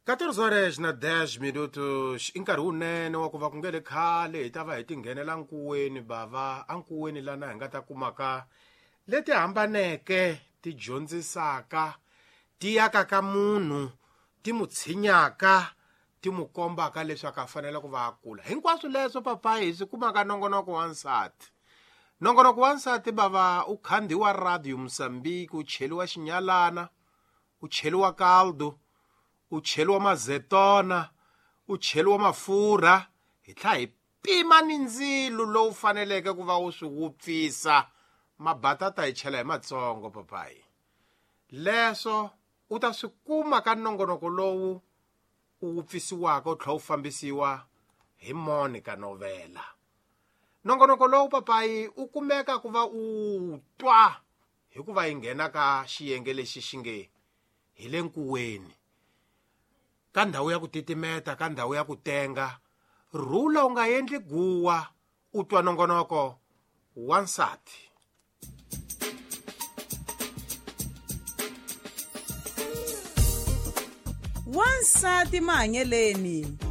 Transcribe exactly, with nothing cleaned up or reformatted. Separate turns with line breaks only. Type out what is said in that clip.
catorze horas na dez minutos i nkarhi wunene wa ku va ku nge le khale hi ta va hi tinghenela nkuweni bava ankuweni lana hi nga ta kumaka leti hambaneke ti dyondzisaka ti yakaka munhu ti mu tshinyaka ti mu kombaka leswaku a fanele ku va a kula. Hinkwaswo leswo papayi hi swi kumaka nongonoko wa nsati. Nongonoko wa nsati bava u khandziwa Radio Mozambique, u cheliwa xinyalana, u cheliwa caldo, u cheliwa mazetona, u cheliwa mafurha, hi tlhela hi pima ni ndzilo lowu faneleke ku va wu swi wupfisa. Mabatata hi chela hi matsongo papayi. Leswo u ta swi kuma ka nongonoko lowu u wupfisiwaka u tlhela u fambisiwa hi Monica Novela. Nongonoko lowu papayi u kumeka ku va u twa hikuva yi nghena ka xiyenge lexi xi nge hi le nkuweni, ka ndhawu ya ku titimeta, ka ndhawu ya ku tenga. Rhula u nga endli guwa, u twa nongonoko wa nsati.
Wansati mahanyeleni.